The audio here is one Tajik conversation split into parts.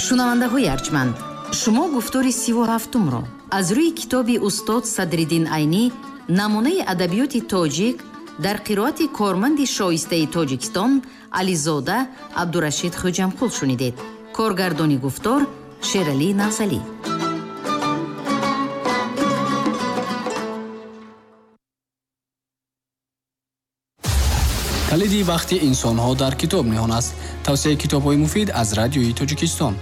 Шунавандаҳои арҷманд, шумо гуфтори 37-умро аз рӯи китоби устод Садриддин Айнӣ «Намунаи адабиёти тоҷик» дар қироати корманди шоистаи Тоҷикистон Ализода Абдурашид Хӯҷамқул шунидед. Коргардони гуфтор Шералӣ Навзалӣ. Калиди вақти инсонҳо дар китоб ниҳон аст. Тавсияи китобҳои муфид аз Радиои Тоҷикистон.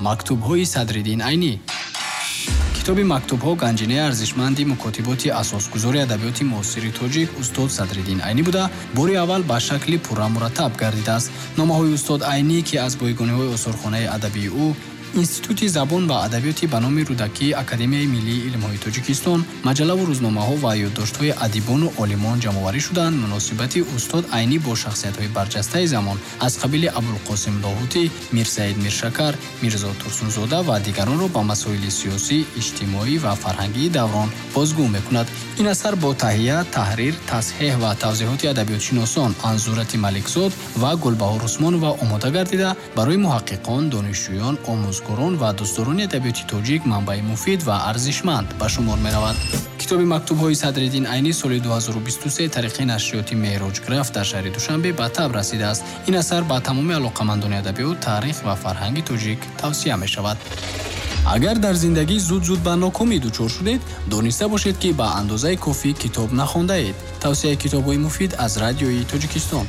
Мактубҳои Садриддин Айнӣ. Китоби мактубҳо ганҷинаи арзишманди мукотиботи асосгузори адабиёти муосири тоҷик устод Садриддин Айнӣ буда, бори аввал ба шакли пурра мураттаб гардидааст. Номаҳои устод Айнӣ, ки аз бойгониҳои осорхонаи адабии ӯ, Институти забон ва адабиёти ба номи Рӯдакии Академияи миллии илмҳои Тоҷикистон, маҷаллаву рӯзномаҳо ва ёддоштҳои адибону олимон ҷамъоварӣ шуданд, муносибати устод Айнӣ бо шахсиятҳои барҷастаи замон аз қабили Абулқосим Лоҳутӣ, Мирсаид Миршакар, Мирзо Турсунзода ва дигаронро ба масоили сиёсӣ, иҷтимоӣ ва фарҳангии даврон бозгӯ мекунад. Ин асар бо таҳия, таҳрир, тасҳеҳ ва тавзеҳоти адабиётшиносон Анзурати Маликзод ва Гулбаҳор Усмонова омода гардида, барои муҳаққиқон, донишҷӯён, омӯзгорон ва дӯстдорони адабиёти тоҷик манбаи муфид ва арзишманд ба шумор меравад. Китоби мактубҳои Садриддин Айнӣ соли 2023 тариқи нашриёти Меҳроҷграф дар шаҳри Душанбе ба таб расидааст. Ин асар ба тамоми алоқамандони адабиёт, таърих ва фарҳанги тоҷик тавсия мешавад. Агар дар зиндагӣ зуд-зуд ба нокомӣ дучор шудед, дониста бошед, ки ба андозаи кофӣ китоб нахондаед. Тавсияи китобҳои муфид аз Радиои Тоҷикистон.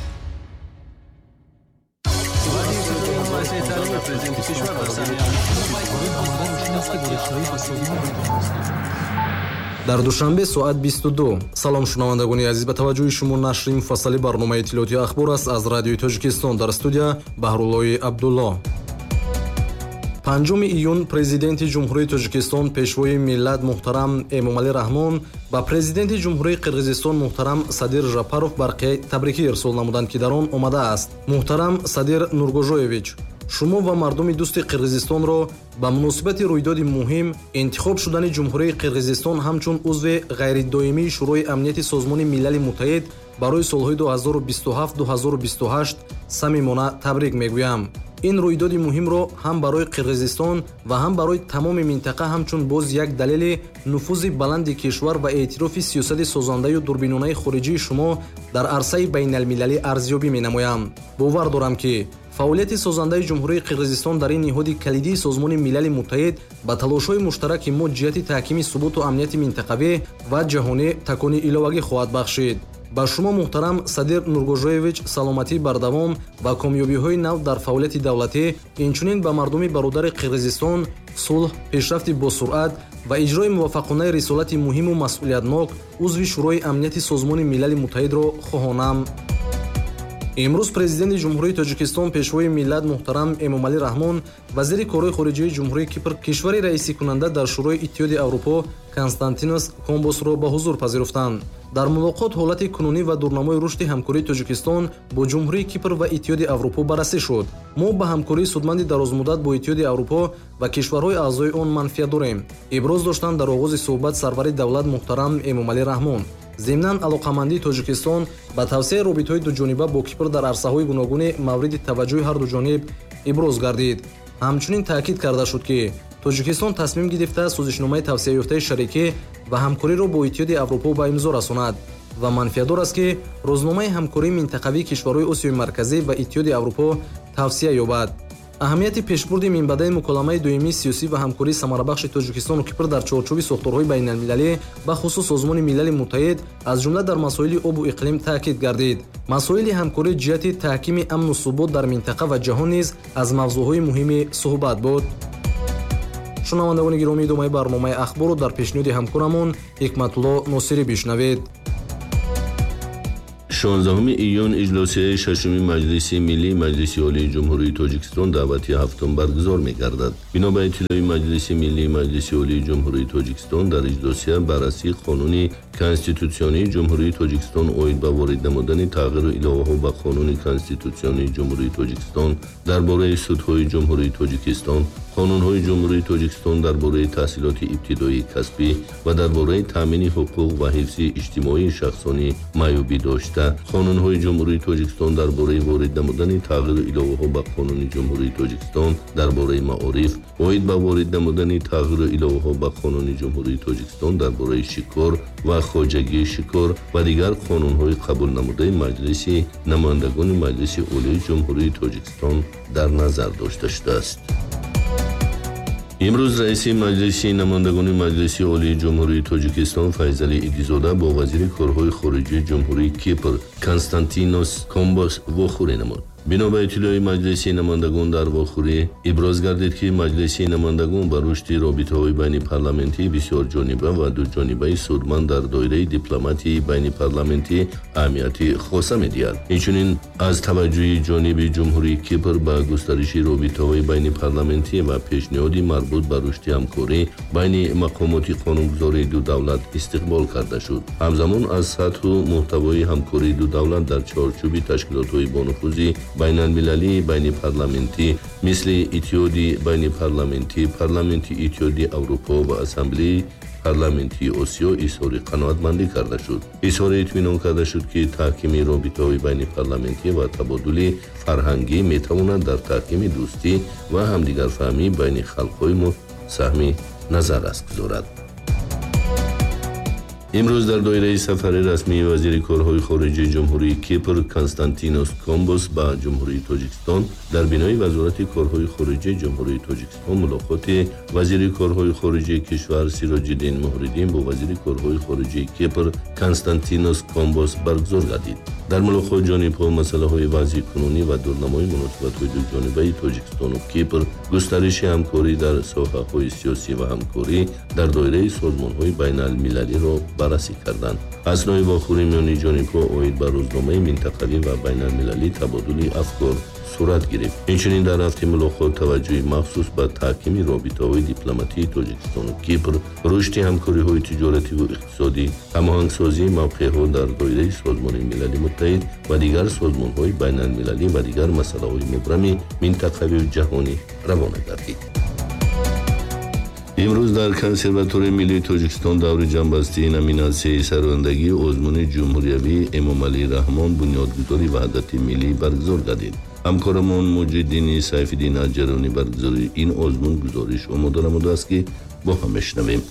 Дар Душанбе соат 22. Салом, шунавандагони азиз, ба таваҷҷӯҳи шумо нашри муфассали барномаи иттилоотии «Ахбор» аст аз Радиои Тоҷикистон. Дар студия Баҳруллои Абдулло. 5 июн Президенти Ҷумҳурии Тоҷикистон, Пешвои миллат муҳтарам Эмомалӣ Раҳмон ба Президенти Ҷумҳурии Қирғизистон муҳтарам Садир Жапаров барқияи табрикӣ ирсол намуданд, ки дар он омадааст: Муҳтарам Садир Нургожоевич, шумо ва мардуми дӯсти Қирғизистонро ба муносибати рӯйдоди муҳим, интихоб шудани Ҷумҳурии Қирғизистон ҳамчун узви ғайридоимии Шӯрои Амнияти Созмони Милали Муттаҳид барои солҳои 2027-2028 самимона табрик мегӯям. Ин рӯйдоди муҳимро ҳам барои Қирғизистон ва ҳам барои тамоми минтақа ҳамчун боз як далели нуфузи баланди кишвар ва эътирофи сиёсати созандаю дурбинонаи хориҷии шумо дар арсаи байналмилалӣ арзёбӣ менамоям. Бовар дорам, ки фаъолияти созандаи Ҷумҳурии Қирғизистон дар ин ниҳоди калидии Созмони Милали Муттаҳид ба талошҳои муштараки мо ҷиҳати таҳкими суботу амнияти минтақавӣ ва ҷаҳонӣ такони иловагӣ хоҳад бахшид. Ба шумо, муҳтарам Садир Нургожоевич, саломатии бардавом ва комёбиҳои нав дар фаъолияти давлатӣ, инчунин ба мардуми бародари Қирғизистон сулҳ, пешрафти босуръат ва иҷрои муваффақонаи рисолати муҳиму масъулиятнок узви Шӯрои Амнияти Созмони Милали Муттаҳидро хоҳонам. Имрӯз Президенти Ҷумҳурии Тоҷикистон, Пешвои миллат муҳтарам Эмомалӣ Раҳмон вазири корҳои хориҷии Ҷумҳурии Кипр, кишвари раисикунанда дар Шӯрои Иттиҳоди Аврупо, Константинос Комбосро ба ҳузур пазируфтанд. Дар мулоқот ҳолати кунунӣ ва дурнамои рушди ҳамкории Тоҷикистон бо Ҷумҳурии Кипр ва Иттиҳоди Аврупо баррасӣ шуд. Мо ба ҳамкории судманди дарозмуддат бо Иттиҳоди Аврупо ва кишварҳои аъзои он манфиат дорем, иброз доштанд дар оғози суҳбат сарвари давлат муҳтарам Эмомалӣ Раҳмон. Зимнан, алоқамандии Тоҷикистон ба тавсеаи робитаҳои дуҷониба бо Кипр дар арсаҳои гуногуни мавриди таваҷҷӯҳи ҳарду ҷониб иброз гардид. Ҳамчунин таъкид карда шуд, ки Тоҷикистон тасмим гирифта созишномаи тавсеаёфтаи шарикӣ ва ҳамкориро бо Иттиҳоди Аврупо ба имзо расонад ва манфиатдор аст, ки рӯзномаи ҳамкории минтақавии кишварҳои Осиёи Марказӣ ва Иттиҳоди Аврупо тавсия ёбад. Аҳамияти пешбурди минбаъдаи муколамаи доимии сиёсӣ ва ҳамкории самарабахши Тоҷикистону Кипр дар чорчӯби сохторҳои байналмилалӣ, бахусус Созмони Милали Муттаҳид, аз ҷумла дар масоили обу иқлим таъкид гардид. Масоили ҳамкорӣ ҷиҳати таҳкими амну субот дар минтақа ва ҷаҳон низ аз мавзӯъҳои муҳими суҳбат буд. Шунавандагони гиромӣ, идомаи барномаи «Ахборро» дар пешниҳоди ҳамкорамон Ҳикматулло Носирӣ бишнавед. 16 июн иҷлосияи шашуми Маҷлиси Миллии Маҷлиси Олии Ҷумҳурии Тоҷикистон даъвати ҳафтум баргузор мегардад. Бино ба иттилои Маҷлиси Миллии Маҷлиси Олии Ҷумҳурии Тоҷикистон, дар иҷлосия баррасии Қонуни Конститутсионии Ҷумҳурии Тоҷикистон оид ба ворид намудани тағйиру иловаҳо ба Қонуни Конститутсионии Ҷумҳурии Тоҷикистон дар бораи судҳои Ҷумҳурии Тоҷикистон, қонунҳои Ҷумҳурии Тоҷикистон дар бораи таҳсилоти ибтидоии касбӣ ва дар бораи таъмини ҳуқуқ ва ҳифзи иҷтимоии шахсони маъюбӣ дошта Қонунҳои Ҷумҳурии Тоҷикистон дар бораи ворид намудани тағйиру иловаҳо ба Қонуни Ҷумҳурии Тоҷикистон дар бораи маориф, оид ба ворид намудани тағйиру иловаҳо ба Қонуни Ҷумҳурии Тоҷикистон дар бораи шикор ва хоҷагии шикор ва дигар қонунҳои қабулнамудаи Маҷлиси намояндагони Маҷлиси Олии Ҷумҳурии Тоҷикистон дар назар дошта шудааст. Имрӯз раиси Маҷлиси намояндагони Маҷлиси Олии Ҷумҳурии Тоҷикистон Файзалӣ Идизода бо вазири корҳои хориҷии Ҷумҳурии Кипр Константинос Комбос вохӯрӣ намуд. Бино ба иттилои Маҷлиси намояндагон дар вохӯрӣ иброз гардид, ки Маҷлиси намояндагон ба рушди робитаҳои байнипарламентӣ бисёрҷониба ва дуҷонибаи судманд дар доираи дипломатияи байнипарламентӣ аҳамияти хоса медиҳад. Инчунин аз таваҷҷӯҳи ҷониби Ҷумҳурии Кипр ба густариши робитаҳои байнипарламентӣ ва пешниҳоди марбут ба рушди ҳамкорӣ байни мақомоти қонунгузории ду давлат истиқбол карда шуд. Ҳамзамон аз сатҳу муҳтавои ҳамкории ду давлат дар чорчӯби ташкилотҳои бонуфузи байналмилалии байнипарламентӣ мисли Иттиҳоди байнипарламентӣ, Парламенти Иттиҳоди Аврупо ва Ассамблеи парламентии Осиё изҳори қаноатмандӣ карда шуд. Изҳори итминон карда шуд, ки таҳкими робитаҳои байнипарламентӣ ва табодули фарҳангӣ метавонад дар таҳкими дӯстӣ ва ҳамдигарфаҳмӣ байни халқҳои мо саҳми назаррас гузорад. Имрӯз дар доираи сафари расмии вазири корҳои хориҷии Ҷумҳурии Кипр Константинос Комбос ба Ҷумҳурии Тоҷикистон дар бинои Вазорати корҳои хориҷии Ҷумҳурии Тоҷикистон мулоқоти вазири корҳои хориҷии кишвар Сироҷиддин Муҳриддин бо вазири корҳои хориҷии Кипр Константинос Комбос баргузор гардид. Дар мулоқот ҷонибҳо масъалаҳои вазъи кунунӣ ва дурнамои муносибатҳои дуҷонибаи Тоҷикистону Кипр, густариши ҳамкорӣ дар соҳаҳои сиёсӣ ва ҳамкорӣ дар доираи созмонҳои байналмилалиро баррасӣ карданд. Аснои вохӯрӣ миёни ҷонибҳо оид ба рӯзномаи минтақавӣ ва байналмилалӣ табодули афкор сурат гирифт. Инчунин дар рафти мулоқот таваҷҷӯҳи махсус ба таҳкими робитаҳои дипломатии Тоҷикистону Кипр, рушди ҳамкориҳои тиҷоративу иқтисодӣ, ҳамоҳангсозии мавқеъҳо дар доираи Созмони Милали Муттаҳид ва дигар созмонҳои байналмилалӣ ва дигар масъалаҳои мубрами минтақавию ҷаҳонӣ равона гардид. Имрӯз дар Консерваторияи миллии Тоҷикистон даври ҷамъбастии номинатсияи сарояндагии озмуни ҷумҳуриявии Эмомалӣ Раҳмон бунёдгузори ваҳдати миллӣ баргузор гардид. Ҳамкорамон Муҷиддини Сайфиддин аз ҷараёни баргузории ин озмун гузориш омода намудааст, ки бо ҳам мешунавем.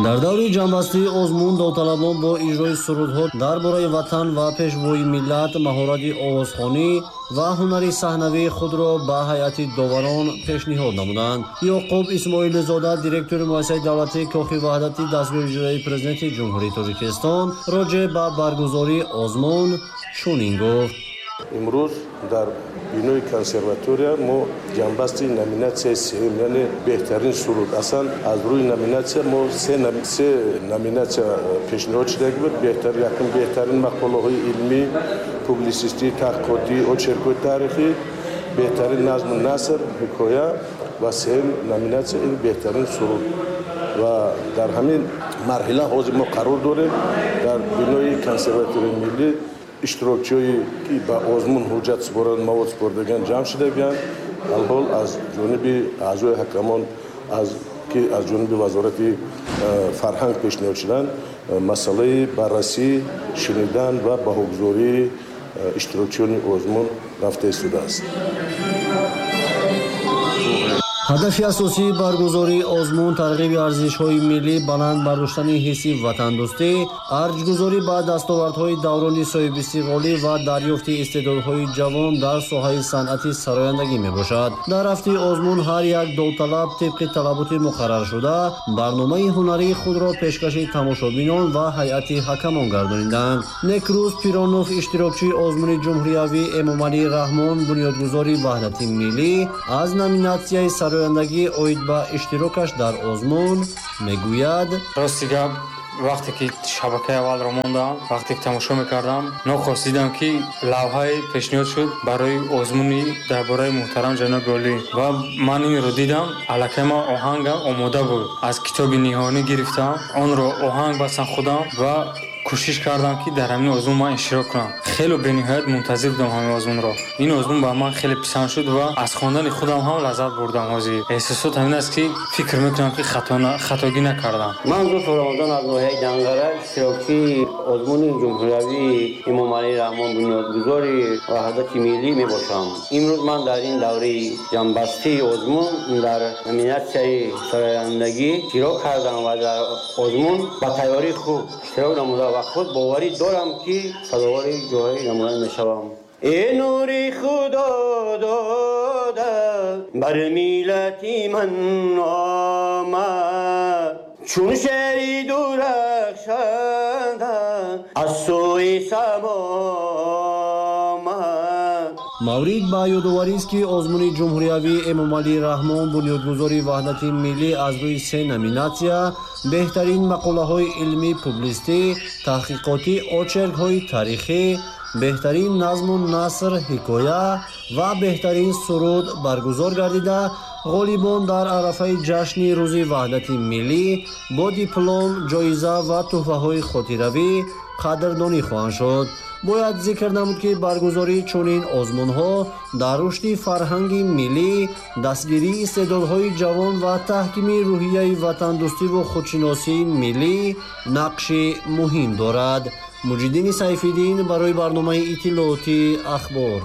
Дар даври ҷамъбастии озмун довталабон бо иҷрои сурудҳо дар бораи ватан ва пешвои миллат маҳорати овозхонӣ ва ҳунари саҳнавии худро ба ҳайати доварон пешниҳод намуданд. Ёқуб Исмоилзода, директори муассисаи давлатии Кохи Ваҳдати дастгоҳи иҷроияи Президенти Ҷумҳурии Тоҷикистон роҷеъ ба баргузории озмун чунин гуфт: Имрӯз дар бинои консерватория мо ҷамъбасти номинатсияи сеюм, яъне беҳтарин суруд. Аслан аз рӯи номинатсия мо се номинатсия пешниҳод шуда буд. Якум беҳтарин мақолаҳои илмӣ, публисистӣ, таҳқиқотӣ, очеркҳои таърихӣ, беҳтарин назму наср, ҳикоя ва сеюм номинатсия ин беҳтарин суруд. Ва дар ҳамин марҳила ҳозир мо қарор дорем дар бинои консерваторияи миллӣ. Иштирокчиҳое ки ба озмун ҳуҷҷат супоранд, мавод супордаган ҷамъ шудагианд. Алҳол аз ҷониби аъзои ҳакамон, ки аз ҷониби Вазорати фарҳанг пешниҳод шуданд, масъалаи баррасӣ, шунидан ва баҳогузории иштирокчиёни озмун рафта истодааст. Ҳадафи асосии баргузории озмун тарғиби арзишҳои миллӣ, баланд бардоштани ҳисси ватандӯстӣ, арҷгузорӣ ба дастовардҳои даврони соҳибистиқлолӣ ва дарёфти истеъдодҳои ҷавон дар соҳаи санъати сарояндагӣ мебошад. Дар рафти озмун ҳар як довталаб тибқи талаботи муқарраршуда барномаи ҳунарии худро пешкаши тамошобинон ва ҳайати ҳакамон гардониданд. Некрӯз Пиронов, иштирокчии озмуни ҷумҳуриявии Эмомалӣ Раҳмон бунёдгузори ваҳдати миллӣ, аз номинатсияи сарояндагӣ оид ба иштирокаш дар озмун мегӯяд: Рости гап, вақте ки шабакаи аввалро мондам, вақте ки тамошо мекардам, нохост дидам, ки лавҳае пешниҳод шуд барои озмуни дар бораи муҳтарам ҷаноби олӣ ва ман инро дидам, аллакай ман оҳангам омода буд. Аз китоби ниҳонӣ гирифтам, онро оҳанг бастам худам ва Кӯшиш кардам, ки дар ҳамин озмун ман иштирок кунам. Хеле бениҳоят мунтазир будам ҳамин озмунро. Ин озмун ба ман хеле писанд шуд ва аз хондани худам ҳам лаззат бурдам. Ҳозир эҳсосот ҳамин аст, ки фикр мекунам, ки хатогӣ накардам. Ман Зуфар Рамазон аз ноҳияи Данғара, иштирокчии озмуни ҷумҳуриявии Эмомалӣ Раҳмон бунёдгузори ваҳдати миллӣ мебошам. Имрӯз ман дар ин давраи ҷамъбастии озмун дар номинатсияи сарояндагӣ иштирок кардам ва дар озмун ба тайёрии хуб иштирок намуда ва худ боварӣ дорам, ки сазовори ҷои намоян мешавам. Э нури Худо дода бар миллати ман омад, чун шери дурахшанда аз сӯи само омад. Маврид ба ёдоварист, ки озмуни ҷумҳуриявии Эмомалӣ Раҳмон бунёдгузори ваҳдати миллӣ аз рӯи се номинатсия: беҳтарин мақолаҳои илмӣ, публистӣ, таҳқиқотӣ, очеркҳои таърихӣ, беҳтарин назму наср, ҳикоя ва беҳтарин суруд баргузор гардида, ғолибон дар арафаи ҷашни Рӯзи ваҳдати миллӣ бо диплом, ҷоиза ва тӯҳфаҳои хотиравӣ қадрдонӣ хоҳанд шуд. Бояд зикр намуд, ки баргузории чунин озмунҳо дар рушди фарҳанги миллӣ, дастгирии истеъдодҳои ҷавон ва таҳкими рӯҳияи ватандӯстиву худшиносии миллӣ нақши муҳим дорад. Муҷиддини Сайфиддин барои барномаи иттилоотии Ахбор.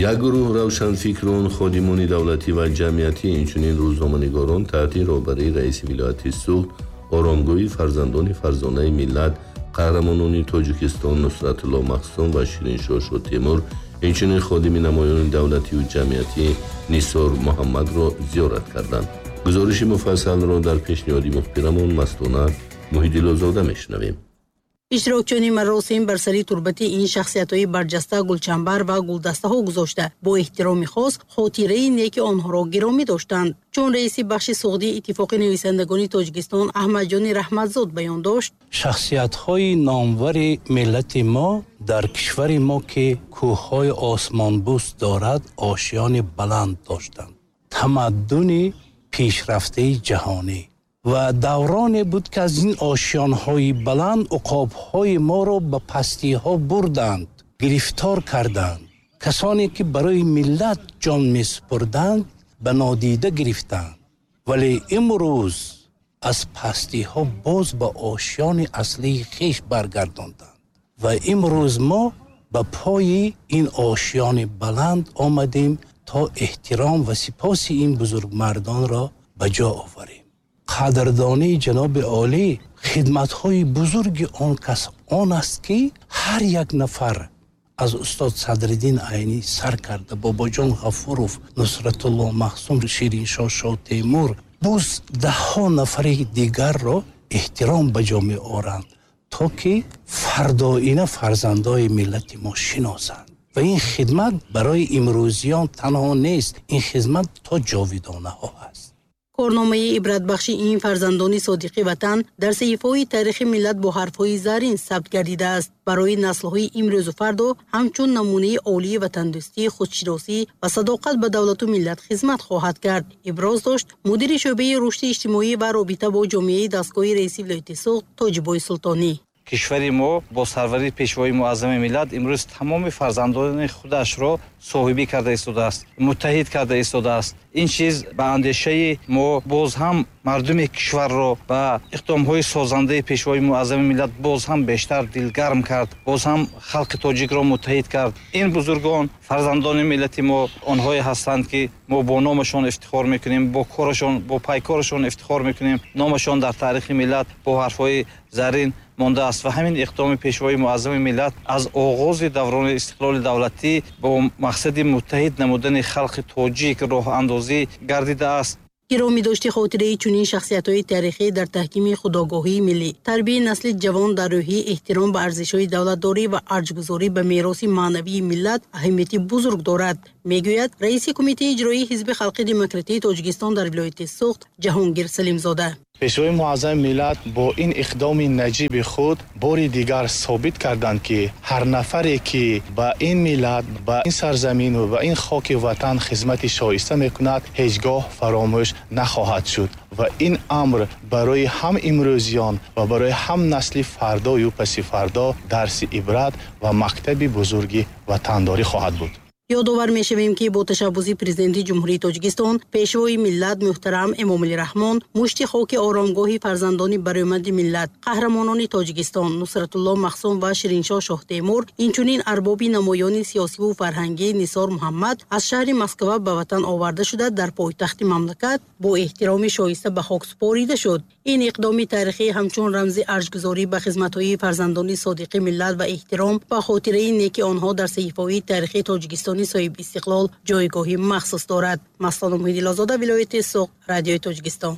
Як гурӯҳ равшанфикрон, ходимони давлатӣ ва ҷамъиятӣ, инчунин рӯзноманигорон таҳти роҳбарии раиси вилояти Суғд оромгоҳи фарзандони фарзонаи миллат, қаҳрамонони Тоҷикистон Нусратулло Махсум ва Шириншоҳ Шотемур, инчунин ходими намоёни давлатию ҷамъиятӣ Нисор Муҳаммадро зиёрат карданд. Гузориши муфассалро дар пешниҳоди мухбирамон Мастона Муҳиддилозода мешунавем. Иштирокчиёни маросим бар сари турбати ин шахсиятҳои барҷаста гулчамбар ва гулдастаҳо гузошта, бо эҳтироми хос хотираи неки онҳоро гиромӣ доштанд. Чун раиси бахши суғдии Иттифоқи нависандагони Тоҷикистон Аҳмадҷони Раҳматзод баён дошт: шахсиятҳои номвари миллати мо дар кишвари мо, ки кӯҳҳои осмонбӯс дорад, ошиёни баланд доштанд, тамаддуни пешрафтаи ҷаҳонӣ ва давроне буд, ки аз ин ошиёнҳои баланд уқобҳои моро ба пастиҳо бурданд, гирифтор карданд. Касоне ки барои миллат ҷон месупурданд, ба нодида гирифтанд, вале имрӯз аз пастиҳо боз ба ошиёни аслии хеш баргардонданд ва имрӯз мо ба пои ин ошиёни баланд омадем, то эҳтиром ва сипоси ин бузургмардонро ба ҷо оварем. Қадрдонии ҷаноби олӣ хидматҳои бузурги он кас он аст, ки ҳар як нафар аз устод Садриддин Айнӣ сар карда, Бобоҷон Ғафуров, Нусратулло Махсум, Шириншоҳ Шотемур, боз даҳҳо нафари дигарро эҳтиром ба ҷо меоранд, то ки фардоина фарзандои миллати мо шиносанд. Ва ин хидмат барои имрӯзиён танҳо нест, ин хидмат то ҷовидонаҳо аст. Корномаи ибратбахши ин фарзандони содиқи ватан дар саҳифаҳои таърихи миллат бо ҳарфҳои зарин сабт гардидааст. Барои наслҳои имрӯзу фардо ҳамчун намунаи олии ватандӯстӣ, худшиносӣ ва садоқат ба давлату миллат хизмат хоҳад кард, иброз дошт мудири шӯъбаи рушди иҷтимоӣ ва робита бо ҷомеаи дастгоҳи раиси вилояти Суғд Тоҷибой Султонӣ. Кишвари мо бо сарварии пешвои муаззами миллат имрӯз тамоми фарзандони худашро соҳибӣ карда истодааст, муттаҳид карда истодааст. Ин чиз ба андешаи мо боз ҳам мардуми кишварро ба иқдомҳои созандаи пешвои муаззами миллат боз ҳам бештар дилгарм кард, боз ҳам халқи тоҷикро муттаҳид кард. Ин бузургон фарзандони миллати мо онҳое ҳастанд, ки мо бо номашон ифтихор мекунем, бо корашон, бо пайкорашон ифтихор мекунем. Номашон дар таърихи миллат бо ҳарфҳои зарин мондааст ва ҳамин иқдоми пешвои муаззами миллат аз оғози даврони истиқлоли давлатӣ бо мақсади муттаҳид намудани халқи тоҷик роҳандозӣ гардидааст. Гиромӣ дошти хотираи чунин шахсиятҳои таърихӣ дар таҳкими худогоҳии миллӣ, тарбияи насли ҷавон дар рӯҳии эҳтиром ба арзишҳои давлатдорӣ ва арҷгузорӣ ба мероси маънавии миллат аҳамияти бузург дорад, мегӯяд раиси кумитаи иҷроии Ҳизби халқи демократии Тоҷикистон дар вилояти Суғд Ҷаҳонгир Салимзода. Пешвои муаззами миллат бо ин иқдоми наҷиби худ бори дигар собит карданд, ки ҳар нафаре ки ба ин миллат, ба ин сарзамин ва ба ин хоки ватан хизмати шоиста мекунад, ҳеҷ гоҳ фаромӯш нахоҳад шуд. Ва ин амр барои ҳам имрӯзиён ва барои ҳам насли фардою паси фардо дарси ибрат ва мактаби бузурги ватандорӣ хоҳад буд. Ёдовар мешавем, ки бо ташаббуси Президенти Ҷумҳурии Тоҷикистон, Пешвои миллат муҳтарам Эмомалӣ Раҳмон, мушти хоки оромгоҳи фарзандони баромади миллат, қаҳрамонони Тоҷикистон Нусратулло Махсум ва Шириншоҳ Шоҳтемур, инчунин арбоби намоёни сиёсиву фарҳангӣ Нисор Муҳаммад аз шаҳри Москва ба ватан оварда шуда, дар пойтахти мамлакат бо эҳтироми шоиста ба хок супорида шуд. Ин иқдоми таърихӣ ҳамчун рамзи арҷгузорӣ ба хизматҳои фарзандони содиқи миллат ва эҳтиром ба хотираи неки онҳо дар саҳифаҳои таърихи Тоҷикистони соҳиби истиқлол ҷойгоҳи махсус дорад. Маслона Муҳиддинлозода, вилояти Суғд, Радиои Тоҷикистон.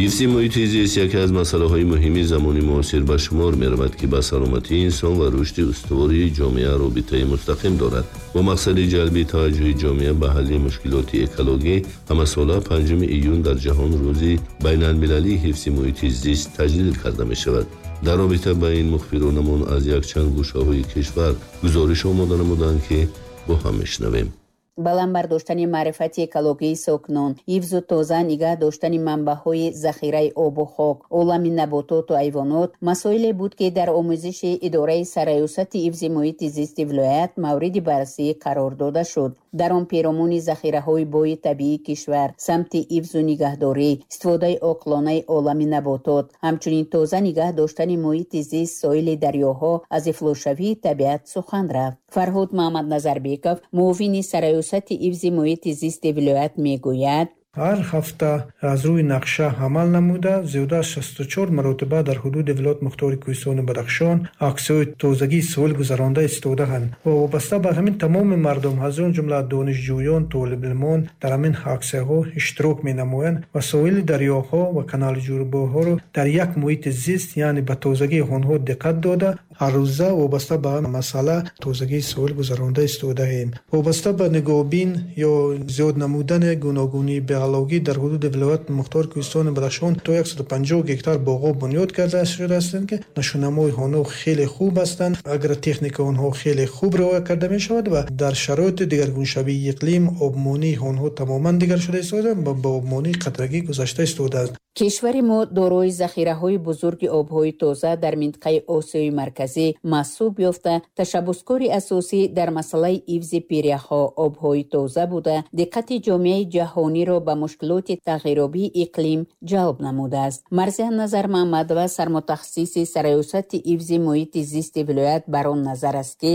Ҳифзи муҳити зист яке аз масъалаҳои муҳими замони муосир ба шумор меравад, ки ба саломатии инсон ва рушди устувории ҷомеа робитаи мустақим дорад. Бо мақсади ҷалби таваҷҷӯҳи ҷомеа ба ҳалли мушкилоти экологӣ, ҳамасола 5 июн дар ҷаҳон рӯзи байналмилалии ҳифзи муҳити зист таҷлил карда мешавад. Дар робита ба ин мухбиронамон аз якчанд гӯшаҳои кишвар гузориш омода намуданд, ки бо ҳам мешунавем. Баланд бардоштани маърифати экологии сокинон, ҳифзу тоза нигаҳ доштани манбаъҳои захираи обу хок, олами набототу ҳайвонот масоиле буд, ки дар омӯзиши идораи сарраёсати ҳифзи муҳити зисти вилоят мавриди баррасӣ қарор дода шуд. Дар он перомуни захираҳои бои табиии кишвар, самти ҳифзу нигаҳдорӣ, истифодаи оқилонаи олами наботот, ҳамчунин тоза нигаҳ доштани муҳити зист, соҳили дарёҳо аз ифлосшавии табиат сухан рафт. Фарҳод Маҳмадназарбеков, муовини сарраёсати ҳифзи муҳити зисти вилоят, мегӯяд: Ҳар ҳафта аз рӯи нақша амал намуда, зиёда аз 64 маротиба дар ҳудуди вилояти мухтори Кӯҳистони Бадахшон аксияҳои тозагии соҳил гузаронда истодаанд ва вобаста ба ҳамин тамоми мардум, аз он ҷумла донишҷӯён, толибилмон дар ҳамин аксияҳо иштирок менамоянд ва соҳили дарёҳо ва канали ҷӯрбоҳоро дар як муҳити зист, яъне ба тозагии онҳо диққат дода, ҳаррӯза вобаста ба масъала тозагии соҳил гузаронда истодаем. Вобаста ба нигоҳбин ё зиёд намудани гуногунии биологӣ дар ҳудуди вилояти мухтори Кӯҳистони Бадахшон то 150 гектар боғҳо бунёд карда шудаастанд, ки нишонамои онҳо хеле хуб ҳастанд, агротехника онҳо хеле хуб риоя карда мешавад ва дар шароити дигаргуншавии иқлим обмонии онҳо тамоман дигар шуда истодааст ва ба обмонии қатрагӣ гузашта истодааст. Кишвари мо дорои захираҳои бузурги обҳои тоза дар минтақаи Осиёи Марказӣ маҳсуб ёфта, ташаббускори асосӣ дар масъалаи ҳифзи пиряхҳо, обҳои тоза буда, диққати ҷомеаи ҷаҳониро ба мушкилоти тағйирёбии иқлим ҷалб намудааст. Марзия Назармаҳмадова, сармутахассиси сарраёсати ҳифзи муҳити зисти вилоят, бар он назар аст, ки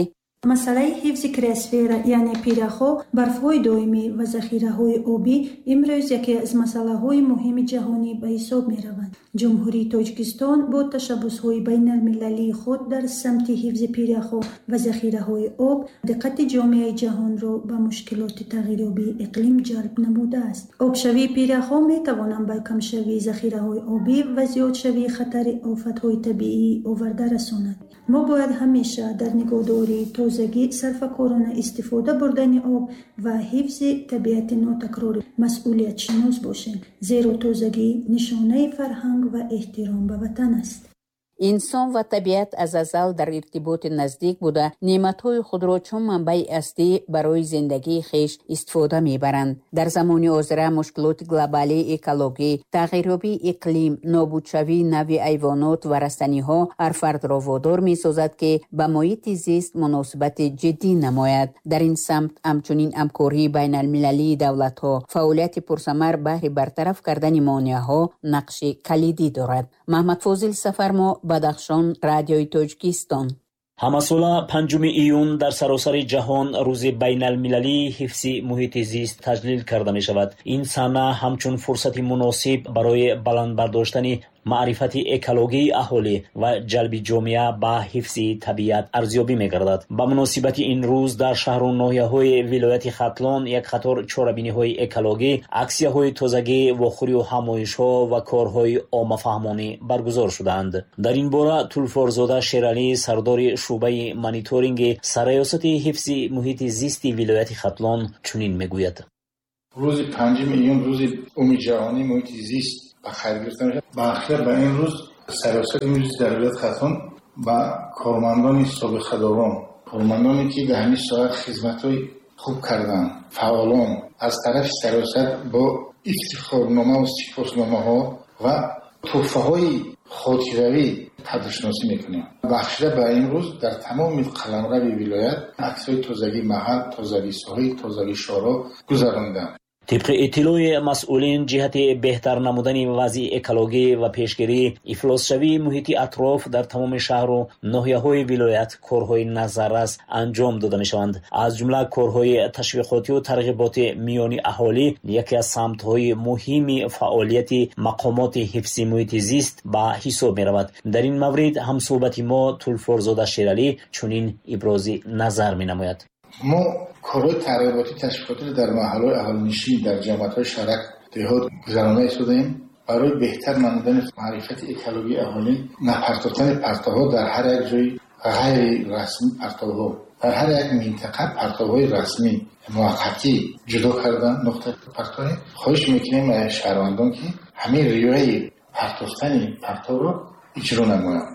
масъалаи ҳифзи криосфера, яъне пиряхҳо, барфҳои доимӣ ва захираҳои обӣ имрӯз яке аз масъалаҳои муҳими ҷаҳонӣ ба ҳисоб мераванд. Ҷумҳурии Тоҷикистон бо ташаббусҳои байналмилалии худ дар самти ҳифзи пиряхҳо ва захираҳои об диққати ҷомеаи ҷаҳонро ба мушкилоти тағйирёбии иқлим ҷалб намудааст. Обшавии пиряхҳо метавонанд ба камшавии захираҳои обӣ ва зиёдшавии хатари офатҳои табиӣ оварда расонанд. Мо бояд ҳамеша дар нигоҳдории тозагӣ, сарфакорона истифода бурдани об ва ҳифзи табиати нотакрорӣ масъулиятшинос бошем, зеро тозагӣ нишонаи фарҳанг ва эҳтиром ба ватан аст. Инсон ва табиат аз азал дар иртиботи наздик буда, неъматҳои худро чун манбаи аслӣ барои зиндагии хеш истифода мебаранд. Дар замони ҳозира мушкилоти глобалии экологӣ, тағйирёбии иқлим, нобудшавии нави ҳайвонот ва растаниҳо ҳар фардро водор месозад, ки ба муҳити зист муносибати ҷиддӣ намояд. Дар ин самт ҳамчунин ҳамкории байналмилалии давлатҳо, фаъолияти пурсамар баҳри бартараф кардани монеаҳо нақши калидӣ дорад. Маҳмадфозил Сафармо, Бадахшон, Радиои Тоҷикистон. Ҳамасола 5 июн дар саросари ҷаҳон рӯзи байналмилалии ҳифзи муҳити зист таҷлил карда мешавад. Ин сана ҳамчун фурсати муносиб барои баланд бардоштани маърифати экологии аҳолӣ ва ҷалби ҷомеа ба ҳифзи табиат арзёбӣ мегардад. Ба муносибати ин рӯз дар шаҳру ноҳияҳои вилояти Хатлон як қатор чорабиниҳои экологӣ, аксияҳои тозагӣ, вохӯрию ҳамоишҳо ва корҳои оммафаҳмонӣ баргузор шуданд. Дар ин бора Тулфорзода Шералӣ, сардори шӯъбаи мониторинги сарраёсати ҳифзи муҳити зисти вилояти Хатлон чунин мегӯяд. Рӯзи 5 июн рӯзи умумиҷаҳонии муҳити зист ба хайр гирифта мешавад. Ба ахир ба ин рӯз сарраёсати муҳити зист дар вилояти Хатлон ба кормандони собиқадорон, кормандоне ки дар ҳамин соат хизматҳои хуб карданд, фаъолон аз тарафи сарраёсат бо Ифтихорнома ва сипосномаҳо ва туҳфаҳои хотиравӣ қадршиносӣ мекунем. Бахшида ба ин рӯз дар тамоми қаламрави вилоят аксҳои тозагии маҳал, тозагии соҳил, тозагии шоҳроҳ гузаронданд. Тибқи иттилои масъулин, ҷиҳати беҳтар намудани вазъи экологӣ ва пешгирии ифлосшавии муҳити атроф дар тамоми шаҳру ноҳияҳои вилоят корҳои назаррас анҷом дода мешаванд. Аз ҷумла корҳои ташвиқотию тарғиботи миёни аҳолӣ яке аз самтҳои муҳими фаъолияти мақомоти ҳифзи муҳити зист ба ҳисоб меравад. Дар ин маврид ҳамсӯҳбати мо Тулфорзода Шералӣ чунин ибрози назар менамояд. Мо корҳои тарғиботӣ ташвиқотиро дар маҳаллаҳои аҳолинишин, дар ҷамоатҳои шаҳрак, деҳот гузаронда истодаем барои беҳтар намудани маърифати экологии аҳолӣ, напартофтани партовҳо дар ҳар як ҷои ғайрирасмӣ, партовҳо дар ҳар як минтақа партовҳои расмӣ муваққатӣ ҷудо кардан нуқтаи партовӣ. Хоҳиш мекунем аз шаҳрвандон, ки ҳамин риояи партофтани партовро иҷро намоянд.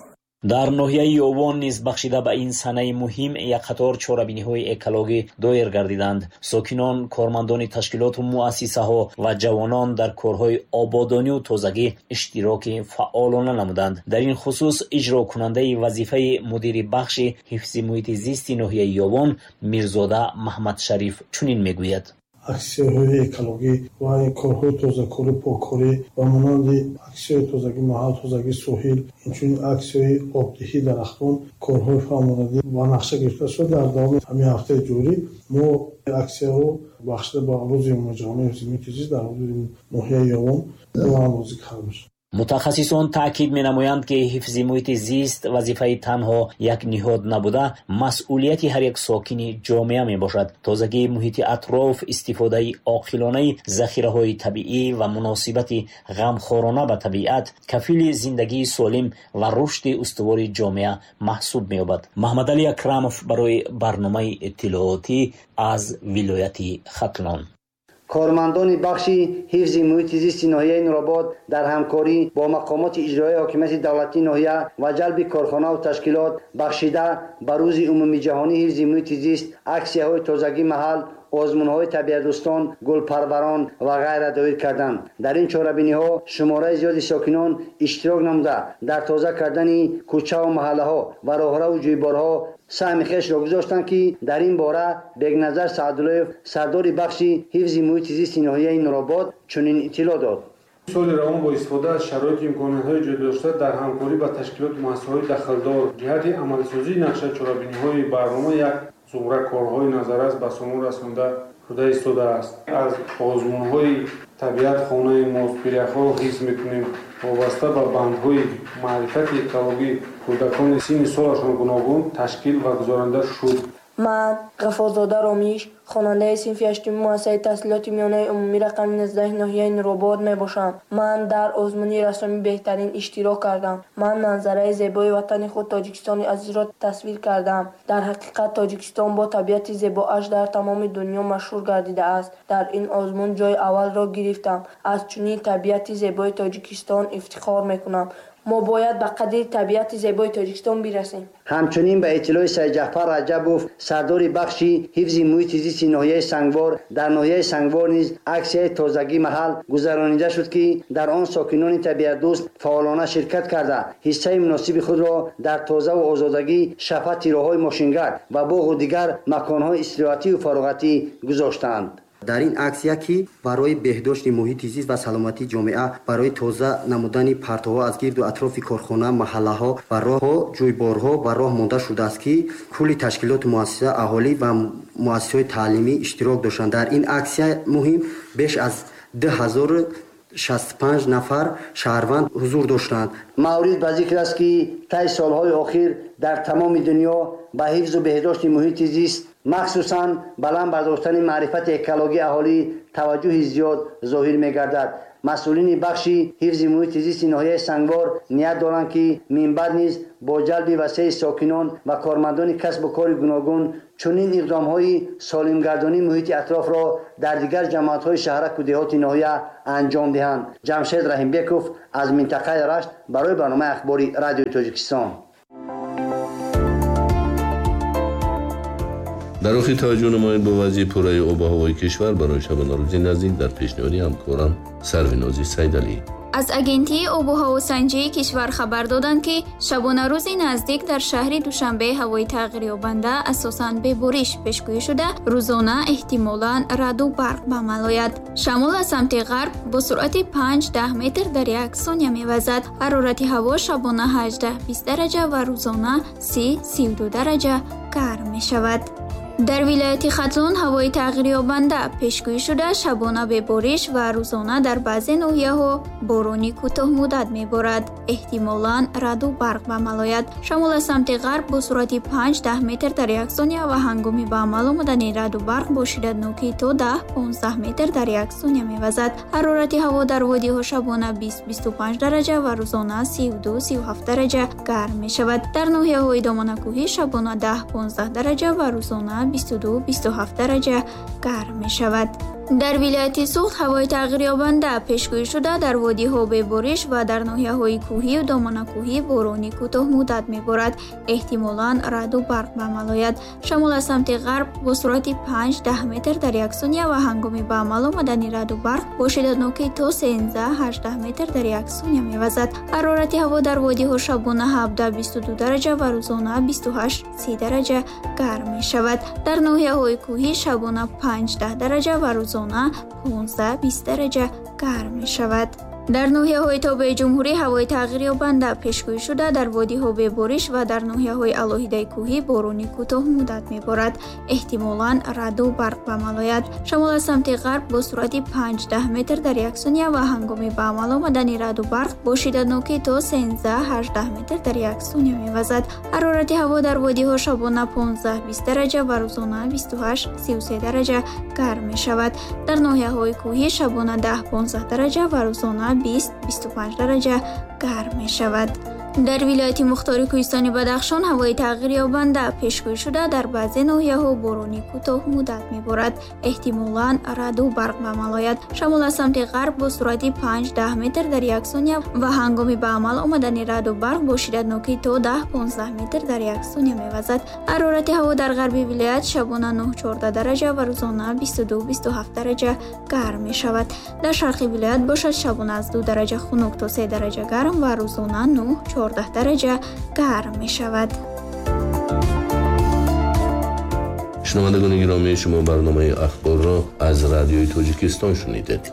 Дар ноҳияи Ёвон низ бахшида ба ин санаи муҳим як қатор чорабиниҳои экологӣ доир гардиданд. Сокинон, кормандони ташкилоту муассисаҳо ва ҷавонон дар корҳои ободонию тозагӣ иштироки фаъолона намуданд. Дар ин хусус иҷрокунандаи вазифаи мудири бахши ҳифзи муҳити зисти ноҳияи Ёвон Мирзода Маҳмадшариф чунин мегӯяд. Аксияҳои экологӣ ва корҳои тозакорӣ, поккорӣ ва монанди аксияҳои тозагӣ маҳал, тозагии соҳил, инчунин аксияҳои обдиҳии дарахтон корҳои фаъолонадӣ ба нақша гирифта шуд. Дар давоми ҳамин ҳафтаи ҷорӣ мо аксияро бахшида ба рӯзи умумиҷаҳонии ҳифзи муҳити зист дар ҳудуди ноҳияи Ёвон роҳандозӣ карда шуд. Мутахассисон таъкид менамоянд, ки ҳифзи муҳити зист вазифаи танҳо як ниҳод набуда, масъулияти ҳар як сокини ҷомеа мебошад. Тозагии муҳити атроф, истифодаи оқилонаи захираҳои табиӣ ва муносибати ғамхорона ба табиат кафили зиндагии солим ва рушди устувори ҷомеа маҳсуб меёбад. Маҳмадалӣ Акрамов барои барномаи иттилоотӣ аз вилояти Хатлон. Кормандони бахши ҳифзи муҳити зисти ноҳияи Нуробод дар ҳамкорӣ бо мақомоти иҷроияи ҳокимияти давлатии ноҳия ва ҷалби корхонаву ташкилот бахшида ба рӯзи умумиҷаҳонии ҳифзи муҳити зист аксияҳои тозагии маҳал, озмунҳои табиатдӯстон, гулпарварон ва ғайра доир карданд. Дар ин чорабиниҳо шумораи зиёди сокинон иштирок намуда, дар тоза кардани кӯчаву маҳаллаҳо ва роҳраву ҷӯйборҳо саҳми хешро гузоштанд, ки дар ин бора Бекназар Саъдуллоев, сардори бахши ҳифзи муҳити зисти ноҳияи Нуробод, чунин иттилоъ дод. Соли равон бо истифода аз шароиту имкониятҳои ҷудодошта дар ҳамкорӣ ба ташкилоту муассисаҳои дахлдор ҷиҳати амалисозии нақша чорабиниҳои барнома як зумра корҳои назаррас ба сомон расонда шуда истодааст. Аз озмунҳои табиат хонаи мост, пиряхҳоро ҳифз мекунем, вобаста ба бандҳои маърифати экологӣ кӯдакони синни солашон гуногун ташкил ва гузаронида шуд. Ман Ғафорзода Ромиш, хонандаи синфи ҳаштуми муассисаи таҳсилоти миёнаи умумӣ рақами 19 ноҳияи Нуробод мебошам. Ман дар озмуни рассомӣ беҳтарин иштирок кардам. Ман манзараи зебои ватани худ Тоҷикистони азизро тасвир кардам. Дар ҳақиқат Тоҷикистон бо табиати зебоаш дар тамоми дунё машҳур гардидааст. Дар ин озмун ҷои аввалро гирифтам. Аз чунин табиати зебои Тоҷикистон ифтихор мекунам. Мо бояд ба қадри табиати зебои Тоҷикистон бирасем. Ҳамчунин ба иттилои Сайдҷафар Раҷабов, сардори бахши ҳифзи муҳити зисти ноҳияи Сангвор, дар ноҳияи Сангвор низ аксияи тозагии маҳал гузаронида шуд, ки дар он сокинони табиатдӯст фаъолона ширкат карда, ҳиссаи муносиби худро дар тозаву озодагӣ, шафати роҳҳои мошингард ва боғу дигар маконҳои истироҳатию фароғатӣ гузоштанд. Дар ин аксия, ки барои беҳдошти муҳити зист ва саломатии ҷомеа, барои тоза намудани партовҳо аз гирду атрофи корхона, маҳаллаҳо ва роҳҳо, ҷӯйборҳо ба роҳ монда шудааст, ки кулли ташкилоту муассиса, аҳолӣ ва муассисаҳои таълимӣ иштирок доштанд. Дар ин аксия муҳим беш аз 2065 нафар шаҳрванд ҳузур доштанд. Маврид ба зикр аст, ки таи солҳои охир дар тамоми дунё ба ҳифзу беҳдошти муҳити зист, махсусан баланд бардоштани маърифати экологии аҳолӣ таваҷҷӯҳи зиёд зоҳир мегардад. Масъулини бахши ҳифзи муҳити зисти ноҳияи Сангвор ният доранд, ки минбаъд низ бо ҷалби васеи сокинон ва кормандони касбу кори гуногун чунин иқдомҳои солимгардонии муҳити атрофро дар дигар ҷамоатҳои шаҳраку деҳоти ноҳия анҷом диҳанд. Ҷамшед Раҳимбеков аз минтақаи Рашт барои барномаи ахбори Радиои Тоҷикистон. Дар охир таваҷҷӯҳ намоед ба вазъи пурраи обу ҳавои кишвар барои шабонарӯзи наздик дар пешниҳоди ҳамкорам Сарвинози Сайдалӣ. Аз Агентии обу ҳавосанҷии кишвар хабар доданд, ки шабонарӯзи наздик дар шаҳри Душанбе ҳавои тағйирёбанда асосан бебориш пешгӯӣ шуда, рӯзона эҳтимолан раъду барқ ба амал ояд. Шамол аз самти ғарб бо суръати 5-10 метр дар як сония мевазад. Ҳарорати ҳаво шабона 18-20 дараҷа ва рӯзона 30-32 дараҷа гарм мешавад. Дар вилояти Хатлон ҳавои тағйирёбанда пешгӯӣ шуда, шабона бебориш ва рӯзона дар баъзе ноҳияҳо борони кӯтоҳмуддат меборад. Эҳтимолан раъду барқ ба амал ояд. Шамол аз самти ғарб бо суръати 5-10 метр дар як сония ва ҳангоми ба амал омадани раъду барқ бо шиддатнокӣ то 10-15 метр дар як сония мевазад. Ҳарорати ҳаво дар водиҳо шабона 20-25 дараҷа ва рӯзона 32-37 дараҷа гарм мешавад. Дар ноҳияҳои доманакӯҳӣ шабона 10-15 дараҷа ва рӯзона 22-27 дараҷа гарм мешавад. Дар вилояти Суғд ҳавои тағйирёбанда пешгӯӣ шуда, дар водиҳо бебориш ва дар ноҳияҳои кӯҳию доманакӯҳӣ борони кӯтоҳмуддат меборад. Эҳтимолан раъду барқ ба амал ояд. Шамол аз самти ғарб бо суръати 5-10 метр дар як сония ва ҳангоми ба амал омадани раъду барқ бо шиддатнокӣ то 13-18 метр дар як сония мевазад. Ҳарорати ҳаво дар водиҳо шабона 17-22 дараҷа ва рӯзона 28-30 дараҷа гарм мешавад. Дар ноҳияҳои кӯҳӣ шабона 5-10 дараҷа ва рӯзона 15-20 дараҷа гарм мешавад. Дар ноҳияҳои тобеи ҷумҳурӣ ҳавои тағйирёбанда пешгӯӣ шуда, дар водиҳо бебориш ва дар ноҳияҳои алоҳидаи кӯҳӣ борони кӯтоҳмуддат меборад. Эҳтимолан раъду барқ ба амал ояд. Шамол аз самти ғарб бо суръати 5-10 метр дар як сония ва ҳангоми ба амал омадани раъду барқ бо шиддатнокӣ то 13-18 метр дар як сония мевазад. Ҳарорати ҳаво дар водиҳо шабона 15-20 дараҷа ва рӯзона 28-33 дараҷа гарм мешавад. Дар ноҳияҳои кӯҳӣ шабона 10-15 дараҷа ва рӯзона 20-25 дараҷа гарм мешавад. Дар вилояти Мухтори Кӯҳистони Бадахшон ҳавои тағйирёбанда пешгӯӣ шуда, дар баъзе ноҳияҳо борони кӯтоҳмуддат меборад. Эҳтимолан раъду барқ ба амал ояд. Шамол аз самти ғарб бо суръати 5-10 метр дар як сония ва ҳангоми ба амал омадани раъду барқ бо шиддатнокӣ то 10-15 метр дар як сония мевазад. Ҳарорати ҳаво дар ғарби вилоят шабона 9-14 дараҷа ва рӯзона 22-27 дараҷа гарм мешавад. Дар шарқи вилоят бошад шабона аз 2 дараҷа хунук то 3 дараҷа гарм ва рӯзона 9-14 дараҷа гарм мешавад. Шунавандагони гиромӣ, шумо барномаи ахборро аз Радиои Тоҷикистон шунидед.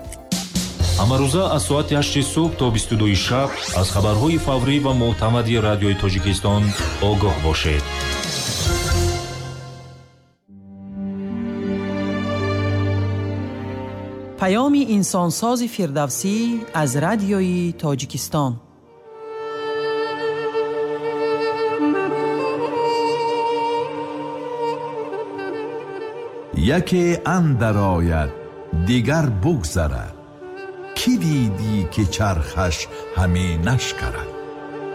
Ҳамарӯза аз соати 8 субҳ то 22 шаб аз хабарҳои фаврӣ ва мӯътамади Радиои Тоҷикистон огоҳ бошед. Паёми инсонсози Фирдавсӣ аз Радиои Тоҷикистон. Яке андар ояд, дигар бугзарад, кӣ дидӣ ки чархаш ҳаме нашкарад.